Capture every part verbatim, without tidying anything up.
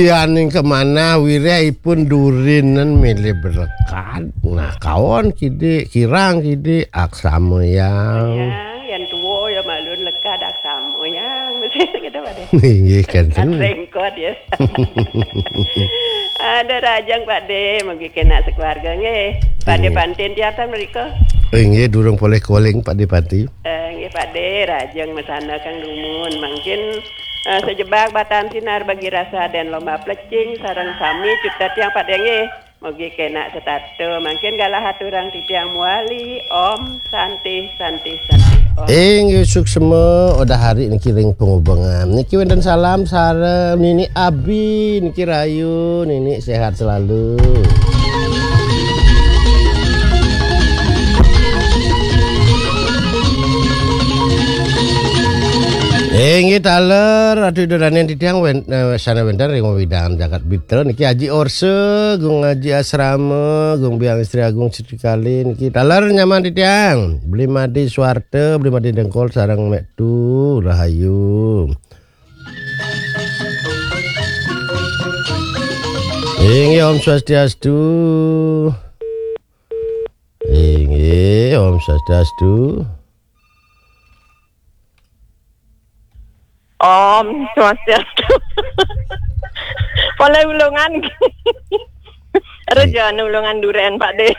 Yaning kemanah wireh ipun durinan milih berkat. Nah, kaon kidik, kirang kidik, aksama yang. Yang, yang tua ya malun lekad aksama yang. Mesti gitu, Pak De. Inggih, kan. Rengkot ya. Ada rajang, Pak De, mungkin kena sekeluarga nggih. Pak De Inggih. Pantin tiatan mereka. Inggih, durung poleh koling, Pak De Panti. Eh, nggih, Pak De, rajang mesana kang dumun. Mungkin eh, sejebak batan sinar bagi rasa dan lomba plecing sareng sami cutet yang Pak De nggih. Mugi kena setata. Mungkin galah aturang titiang muali. Om Santi, Santi, Santi, Om. Inggih suksma, udah hari niki ring pengubengan. Niki wenten salam sareng Nini Abi, niki rayu, Nini sehat selalu. Inggih taler, Ratu Ida Danen titiang wen, eh, sana wenten ring wewidangan jagat Bitra niki Aji Orse, Gung Aji Asrama, Gung Biang Istri Agung Sri Kali niki taler nyaman titiang. Beli Madi Suarte, Beli Madi Dengkol sareng Mek Tu, rahayu. Inggih Om Swastiastu. Inggih Om Swastiastu. Om Swastiastu. Poleh Ulungan. Rejane Ulungan Duren, Pak De.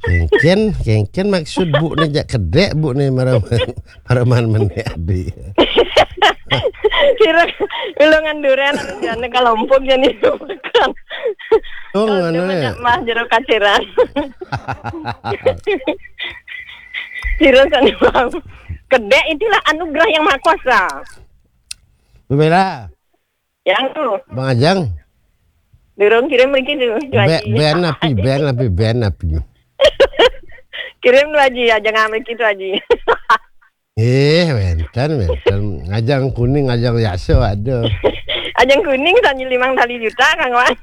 Kengken, kengken maksud Bu ni jak kedek Bu ni maraman, maraman menek adi. Kira Ulungan Duren rejane kalompok jani bukan. Oh, Kalau nganu ya. Banyak mah jero kaciran. Kira sane wau. Kedek itulah anugerah yang maha kuasa. Bebela. Yang tu. Bang Ajang. Durung kirim mriki tu, Tu Be-, Haji. Ben api, ben api, ben api. Kirim tu, Haji, Ajang mriki tu, Haji. Eh, wenten, wenten. Ajang kuning, ajang biasa ada. Ajang kuning sanji limang tali juta, Kang Wan.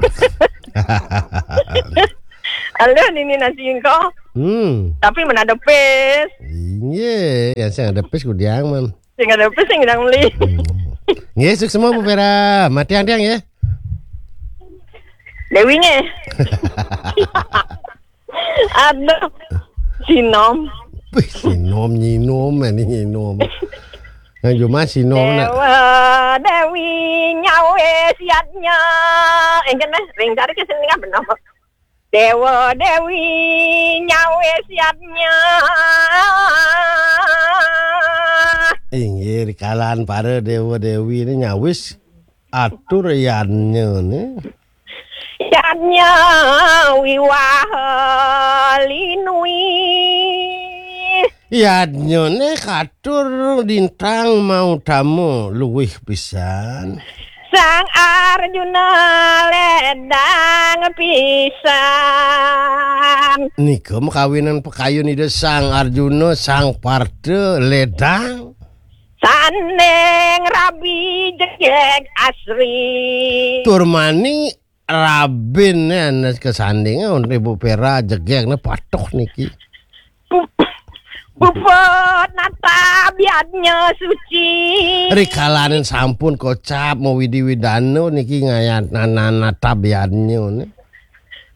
Halo, nini nasi engko. Hmm. Tapi mana ada pes. Iya, yang saya ada pes kudiang, man. Sing ada apa sing ndang meli? Hmm. Nggih, suksma Bu Vera. Matiang tiang nggih. Dewi nggih. Aduh. Sinom. Wih, sinom nyinom, ini nyinom. Yang cuma sinom nak. Dewa Dewi nyawe siatnya. Engken meh, ring cari ke sini kan benar. Dewa Dewi nyawe siatnya. Inggih, kalan para dewa dewi ini nyawis atur yannya ni. Yannya wiwah linui. Yannya ni katur dintang mau tamu luwih pisan. Sang Arjuna ledang pisan. Nika makawinan pakayun Ida Sang Arjuna, Sang Partha ledang. Sanding rabi jegeg asri. Tur mani rabin ne kesanding untuk Ibu Vera jegeg ne patuh niki. Puput nata biadnya suci. Rikalanin sampun kocap mau widi widana niki ngayat nana nata biadnya ne.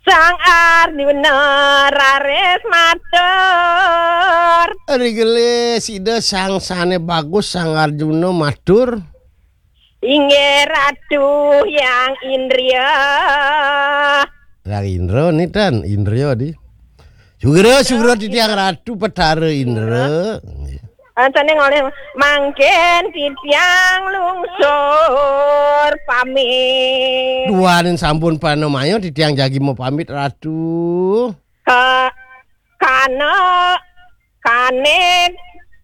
Sang Arjuna raris matur. Rigele sida sang sane bagus Sang Arjuna matur. Inggih Ratu Hyang Indria. Hyang Indra ni tan, Indria di. Sugra, sugra titiang Ratu Petara Indra. Ancane ngoleh mangkin titiang lungsur pamit. Duaning sampun panamaya titiang jagi mau pamit Ratu. Ka-, kana, kane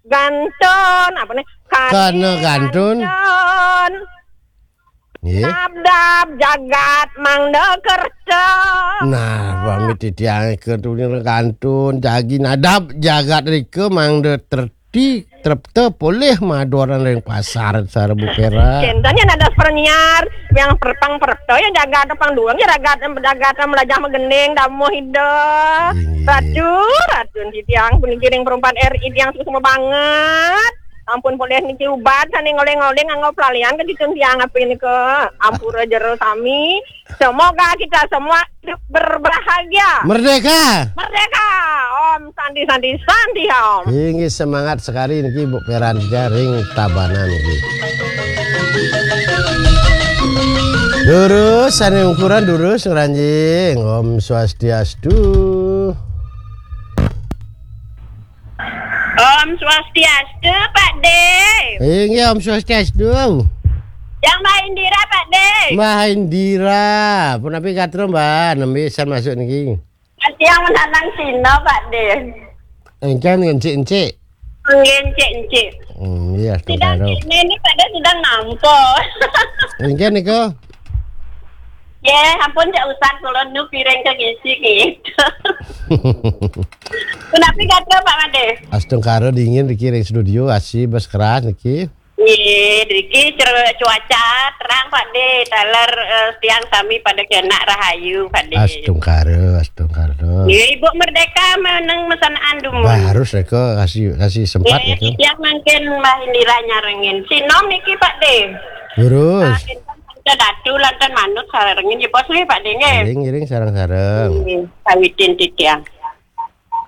gantun, apa nih? Kane Kana gantun. Gantun. Nggih. Nadab jagat mangda kerta. Nah, pamit titiang ke tuning kantun jagi nadab jagat rika mangda terti trepta polih madoran ring pasar Sarbu Pera. Kentanya nadab pernyar yang perpang perta ya jagat pang duang ya ragat jagat melajah megending damuh ida. Inggih. Ratu, ratu titiang puniki ring perempat R I tiang semua banget. Ampun polih niki ubat sané ngoléng-ngoléng nganggo pelalian ka ditun tiang api nika. Ampura jero sami. Semoga kita semua hidup berbahagia. Merdeka. Merdeka. Om Santi Santi Santi Om. Inggih, semangat sekali niki Bu Peran jaring Tabanan niki. Durus sané ungkuran durus ngranjing. Om Swastiastu. Om Swastiastu, Pak De. Inggih, Om Swastiastu. Yang Mbah Indira, Pak De. Mbah Indira, punapi gatra, Mbah? Nembe san masuk niki. Yang menanang Cina, Pak De. Engken encik-encik. Nggih, encik-encik. Hmm, iya, Sidang karo. Ini, ini Pak De sidang nampa. Engken niku. Ya, ampun cak usan kula nu piring ke ngisi gitu. Punapi gatra, Pak Made? Astungkara dingin niki ring studio, asih bas keras niki. Nggih, driki cer- cuaca terang, Pak De. Taler eh, tiang sami pada kenak rahayu, Pak De. Astungkara, astungkara. Nggih, Ibu Merdeka meneng mesanaan dumun. Bah, harus reka kasih kasih sempat Nggih, gitu. Tiang mangkin Mbah Indira nyarengin. Sinom niki, Pak De. Terus. Kita datu lantan manut sarengin ya bos nggih, Pak De nggih. Ngiring-ngiring sareng-sareng. Nggih, sawitin titiang.